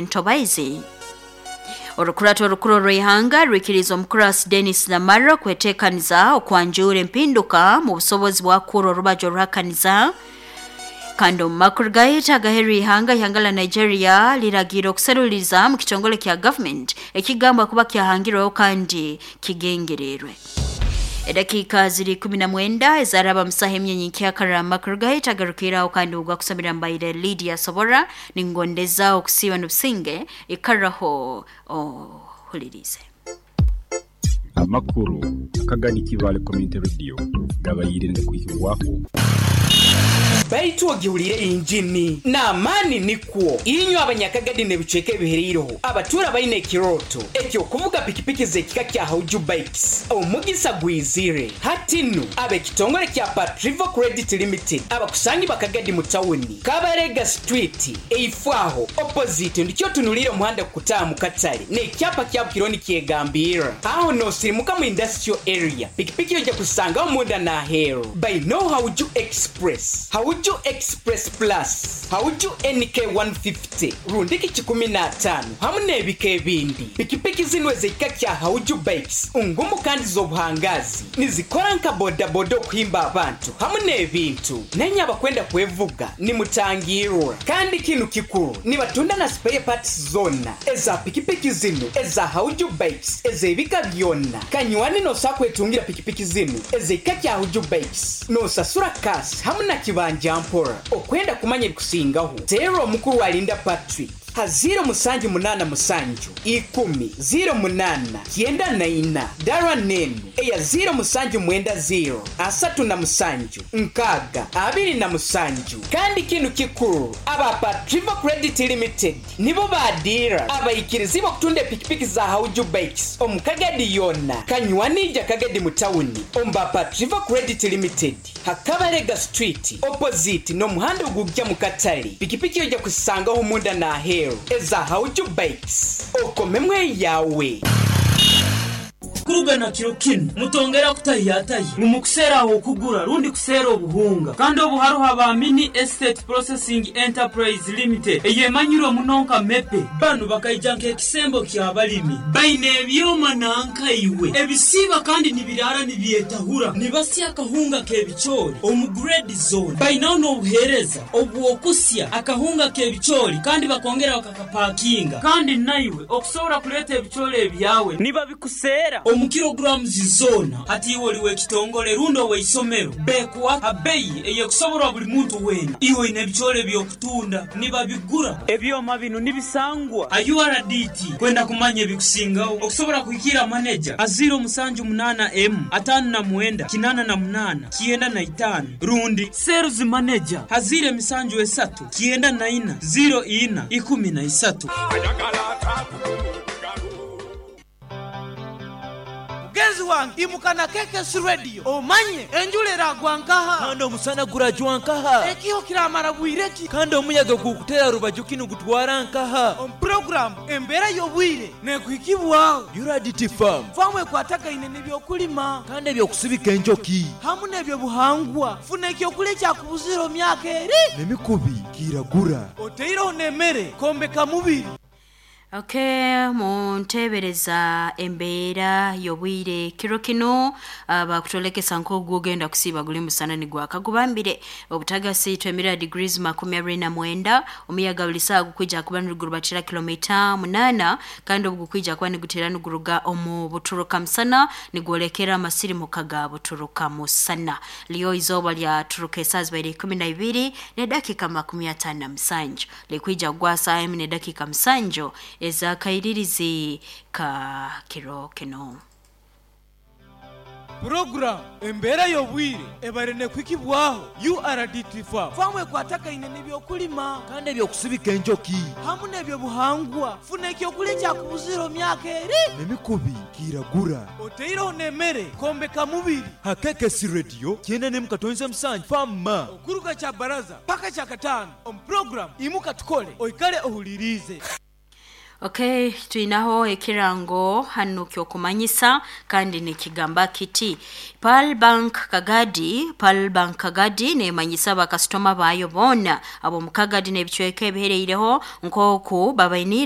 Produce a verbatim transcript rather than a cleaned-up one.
Ntobaizi. Orukurato orukuru rw'ihanga rwikiriza omukurasi Dennis Lamaro kwetekaniza okwanjura empinduka mu busobozi bwakuru orubajo ruhakaniza. Kandi omu makuru gaitu agaheru ihanga, ihanga la Nigeria liragira okuseruliza mu kitongole kya government ekigambwa kuba kyahangirweho kandi kigengererwe. Edakika ziri kumi na mwenda ezaraba musaha emyenyi nkyakara. Amakuru gaitu agarukiraho kandi ugwa kusomera mbaire Lydia Sobora ningondeza okusiba n'obusinge ikaraho ohulirize. Amakuru akagadi Kibale Community Radio gabayire ndakwihirwako. Baitu ogiwulire injini n'amaani nikwo inywe abanyakagadi n'ebicweka ebihereireho abatura baine ekiroto ekyokuvuga pikipiki z'ekika kya Hauju Bikes. Omugisa gwizire hatinu ab'ekitongole kya Patrivo Credit Limited abakusangi bakagadi mu tawuni Kabarega Street eifwaho opposite ndikyo tunulire omuhanda kukutaaha mu katale n'ekyapa kya Bukironi kyegambira aho nosirimuka mu industrial area. Pikipiki ojja kusangaho munda n'aheeru baino Hauju Express, Hauju Express Plus, Hauju N K one fifty, rundiki kikumi na ataano hamu n'ebika ebindi. Pikipiki zino ez'ekika kya Hauju Bikes ngumu kandi z'obuhangazi nizikora nka bodaboda okuhimba abantu hamu n'ebintu. Nenye abakwenda kwevuga nimutangirwa. Kandi kinu kikuru nibatunda na spare parts zona eza pikipiki zino eza Hauju Bikes ez'ebika byonna. Kanywani nosa kwetungira pikipiki zino ez'ekika kya Hauju Bikes nosasura kasi hamu na kibanja mpora. Okwenda kumanya ebikusingaho teera omukuru alinda Patrick ha ziro musanju munana musanju ikumi ziro munana kyenda na ina dara nenu eya ziro musanju mwenda ziro asatu na musanju nkaga abiri na musanju. Kandi kinu kikuru aba Patrivo Credit Limited nibo badira abaikirizi okutunda epikipiki za Hauju Bikes omukagadi yonna kanywanija kagadi mu tawuni omba Patrivo Credit Limited Hakabarega Street opposite n'omuhanda ogujja mu katale. Pikipiki ojja kusangaho munda n'aheeru eza Hauju Bikes okomemwe yawe. Kuruga na kiro kinu mutongera kutayatayi mumukuseraho okugura rundi kusera obuhunga. Kandi obuharuha ba Mini Estate Processing Enterprise Limited eyemanyirwe munonka mepe banu bakaija nk'ekisembo ky'abalimi baine ebyoma nankaiwe ebisiba kandi nibirara nibyetahura nibasya akahunga k'ebicoori omu grade zone. Bainaho n'obuheereza obw'okusya akahunga k'ebicoori kandi bakongera bakakapakinga. Kandi naiwe okusobora kuleeta ebicoori ebyawe nibabikusera omu kilograms zona. Hati iwe oliwe ekitongole rundo weisomero bekuwa abeyi eyekusoborwa buli muntu wena. Iwe ine ebicoori ebyokutunda nibabigura. Ebyoma bino nibisangwa a U R D T kwenda kumanya ebikusingaho okusobora kuhikira manager a ziro musanju munana m atano na mwenda kinana na munana kienda na itano rundi sales manager hazire misanju esatu kienda na ina ziro ina ikumi na isatu. Mugenzi wange imukana K K S Radio omanye enjura eragwa nkaha kandi omusana gurajwa nkaha ekiho kiramara bwireki kandi omuyaga gukutera rubaju kinu gutwara nkaha. Omu program embeera y'obwire nekuhikibwaho U R D T Farm famu ekwatagaine n'ebyokulima kandi ebyokusibika enjoki hamu n'ebyobuhangwa. Funa ekyokulya ekyakubuzira omu myaka eri n'emikubi kiragura oteireho n'emmere kombeka mubiri. Okay, muntebereza embeera y'obwire kiro kino bakutolekesa nk'ogugenda kusiba guli musana ni gwakagubambire obutagasi twemira degrees makumi abiri na mwenda. Omuyaga buli saa gukwija kuba nigurubatira kilomita munana kandi obugukwija kuba nigutera niguruga omu buturuka musana nigwolekera amasirimuka ga buturuka musana. Liyo izooba lyaturuka esaaha zibaire ikumi na ibiri n'edakika makumi ataano na musanju likwija kugwa saaha emu n'edakika musanju ezakairirizi ka kiro kino. Program embeera y'obwire ebare nekwikibwaho U R D T Farm famu ekwatagaine n'ebyokulima kandi ebyokusibika enjoki hamu n'ebyobuhangwa. Funa ekyokulya ekyakubuzira omu myaka eri n'emikubi kiragura oteireho n'emmere kombeka mubiri. Ha K K S Radio kyenda n'emu katonze musanju fama okuruga kya baraza paka kya kataano omu program imuka tukole oikale ohulirize. Okay, twinaho ekirango hano kyokumanyisa kandi nikigamba kiti Pearl Bank Kagadi. Pearl Bank Kagadi nemanyisa bakasitoma bayo boona ab'omu Kagadi n'ebicweka ebihereireho nk'oku babainiire.